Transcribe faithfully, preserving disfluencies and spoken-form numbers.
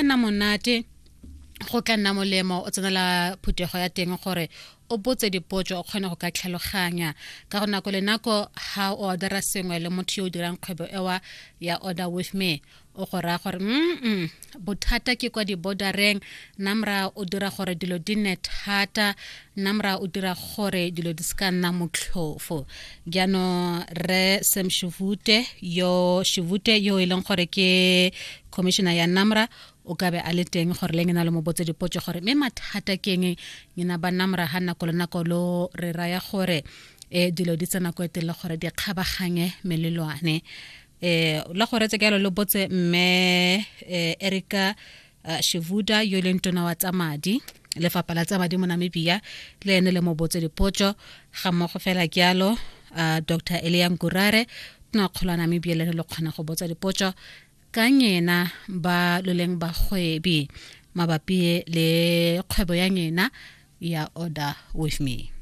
Nna monate, go tla nna molemo o tsenela phuthego ya teng gore o botse dipotso, o kgone go ka tlhaloganya ka go nako le nako. Ha o ordera sengwe le motho yo o dirang kgwebo ewa ya Order With Me, o go raya gore mm bothata ke kwa di-bordereng. Namra o dira gore dilo di nne thata, Namra o dira gore dilo di se ka nna motlhofo. Jaanong re Sam Shivute yo Shivute yo e leng gore ke commissioner ya Namra o ka be a le teng gore le ngena le mo botse dipotso gore mme mathata keng ngena ba Namra ha nako le nako lo re raya gore e dilo di tsena ko e le gore di kgabaganye melelwane. eh la go retse ke lo botse mme eh, Erika uh, Shivuda yo e leng tona wa tsa madi, lefapha la tsa madi mo Namibia, le ene le mo botse dipotso ga mmogo fela jalo. uh, Doctor Elia Ngurare, tona kgolo wa Namibia, le ene le kgona go botsa dipotso ka nyena ba lo leng bagwebi mabapi le kgwebo ya nyena ya Order With Me.